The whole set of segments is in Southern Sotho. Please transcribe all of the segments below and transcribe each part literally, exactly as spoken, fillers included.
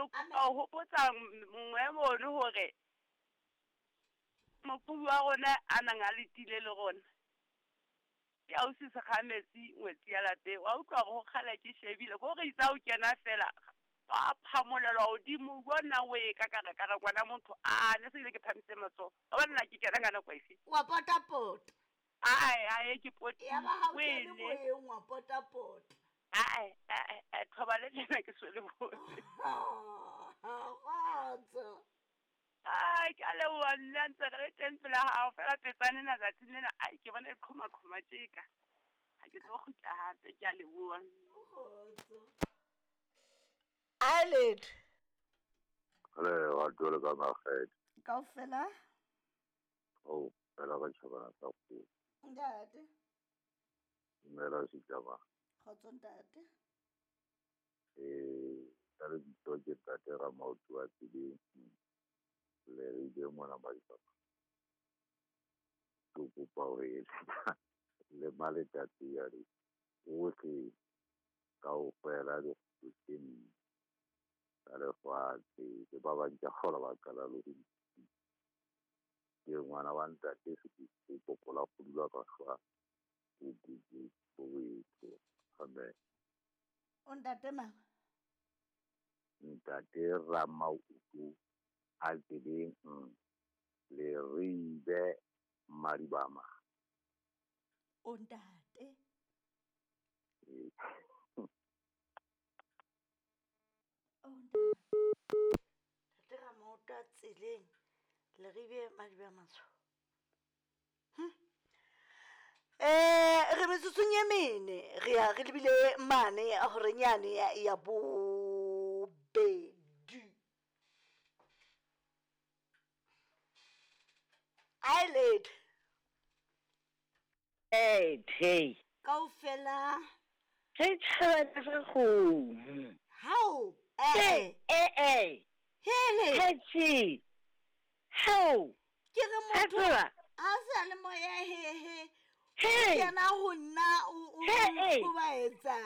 kopa ho hopotsa mongwe mono hore moqhobi wa rona a nang a letile le rona. Ke ausi Sekgametsi ngwetsi ya lapeng. Wa utlwa hore ho kgale ke shebile, ko re itse ha o kena fela wa phamolelwa hodimo, bona o e ka ka re ka re ngwana motho a ne se ile ke phamise matsoho. Wa bona nna ke kena ka nako efe? Wa potapota. Ae, ae ke poti. Ya ba ha o kene moyeng wa potapota. Ae, ae, ae, thoba le lena ke swele bone. Kgotso. Ai, ke a leboha nna ntse re le teng pela hao fela petsane ena tsatsing lena, ai ke bona e qhoma-qhoma tjeka. Ha ke tlo kgutla hape, ke a leboha. Kgotso. Ai letho. Le wa tole ka makgethe. Kaofela? Oh, fela ka tjhabana sa kgomo. Ntate. Dumela setjhaba. Kgotso ntate. Eh, ka lebitso ke ntate Ramaoto wa Tseleng. Le re ile mona Madibama. Ke kopa ho eletsa le Maletsatsi ya re ohle kaofela dikgwebo tse nne tsa lefatshe le ba bang ke a kgolwa ba qala le ho ke ngwana wa ntate Sekete Popola Kgodula ka hlwa o Soweto. Amen. O ntate mang? Ntate Ramaoto a Tseleng Leribe Madibama. O ntate? O ntate. Ntate Ramaoto a Tseleng Leribe Madibama. Hm. Eh, re metsotsong e mene re ya re lebile mane a horeng yane ya, ya bobedi. Ai letho. Eh, hey. Kaofela. Re tjhabana sa kgomo. Hao, eh, eh, eh. Hele. Hetsi. Hao. Ke re motho ha sa le moya he he. Hey. Kena ho nna o o ba etsa.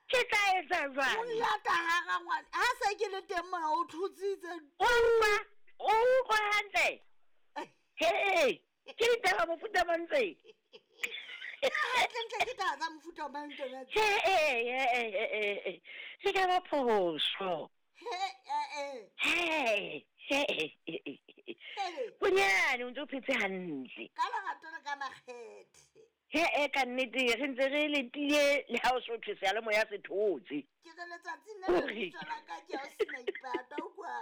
Ke tla etsa jwang? O lata hara ngwana. Ha se ke le teng mona o thutsitse. O utlwa, o utlwa hantle. Hey, ke ditaba mofuta mang tse? Hantle ke taba tsa mofuta mang tsona? Hey, hey, hey, hey. Ke ka ba phoso. Hey, eh, Hey, hey. Bonyane o ntse o phetse hantle. Ka lerato le ka makgethe. He e ka nnete re ntse re letile le ha o so thwe seyalemoya se thotse. Ke re letsatsing le lebitso la ka ke o sena ipata o kwa.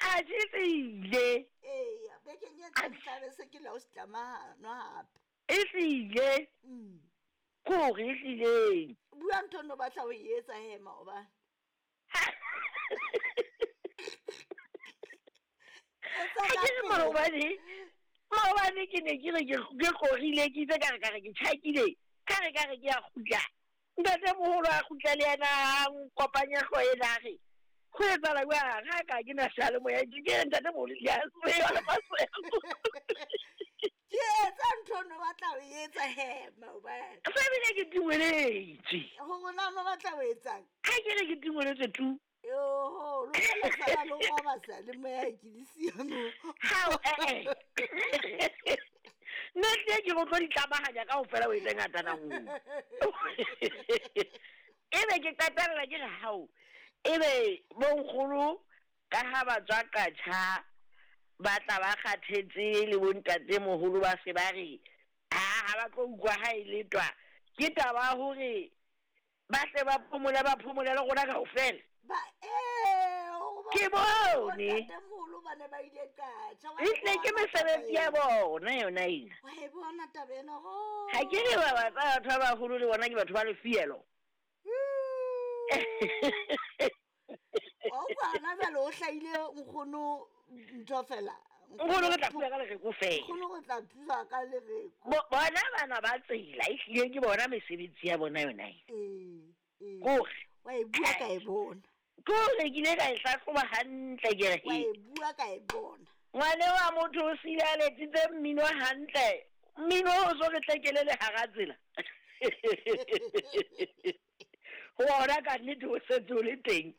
Ha se tsile. Eya, bekeng e tlang tla be se ke la o setlamano hape. E hlile. Mm. Kore e hlileng. Bua ntho no batla ho e etsa he maobane. Ha ke re maobane. Maobane ke ne ke re ke korile ke itse ka re ka re ke tjhakile ka re ka re ke a kgutla. Ntate moholo a kgutla le yena a nkopanya hlooho ena a re ho etsahala jwang ha ka ke na seyalemoya ke re ntate moholo le a tseba le maswebo. Ke etsa ntho no batla ho etsa he maobane. Fa bile ke tingweletswe. Hore na no batla ho etsang? Ha ke re ke tingweletswe tu. Yo, lo la sala lo roba seyalemoya ke le siyo mo. Hao eh eh. Nna tle ke go tlo di tlamahanya kaofela o etse ngatana nngwe. Ebe ke qetella ke re hao. Ebe bonkgolo ka ha ba tswa Qacha ba tla ba kgathetse le bontate moholo ba se ba re ha ha ba tlo utlwa ha e letwa ke taba hore ba tle ba phomole ba phomole le rona kaofela. Ba eh ke bone ntate moholo ba ne ba ile Qacha. Ehlile ke mesebetsi ya bona yona ena. Wa e bona taba ena ho. Ha ke re ba batho ba baholo le bona ke batho ba lefielo. O bana jwale o hlahile nkgono ntho fela. Nkgono re tla thusa ka lereko fela. Nkgono re tla thusa ka lereko. Bona bana ba tsela ehlile ke bona mesebetsi ya bona yona ena. Eh, eh. Kore wa e bua ka e bona. Kore ke ile ka e hlahloba hantle ke re. Wa e bua ka e bona. Ngwane wa motho o sile a letsitse mmino hantle. Mmino o so re tlekele le hara tsela. Ho ona ka nnete o setse o le teng.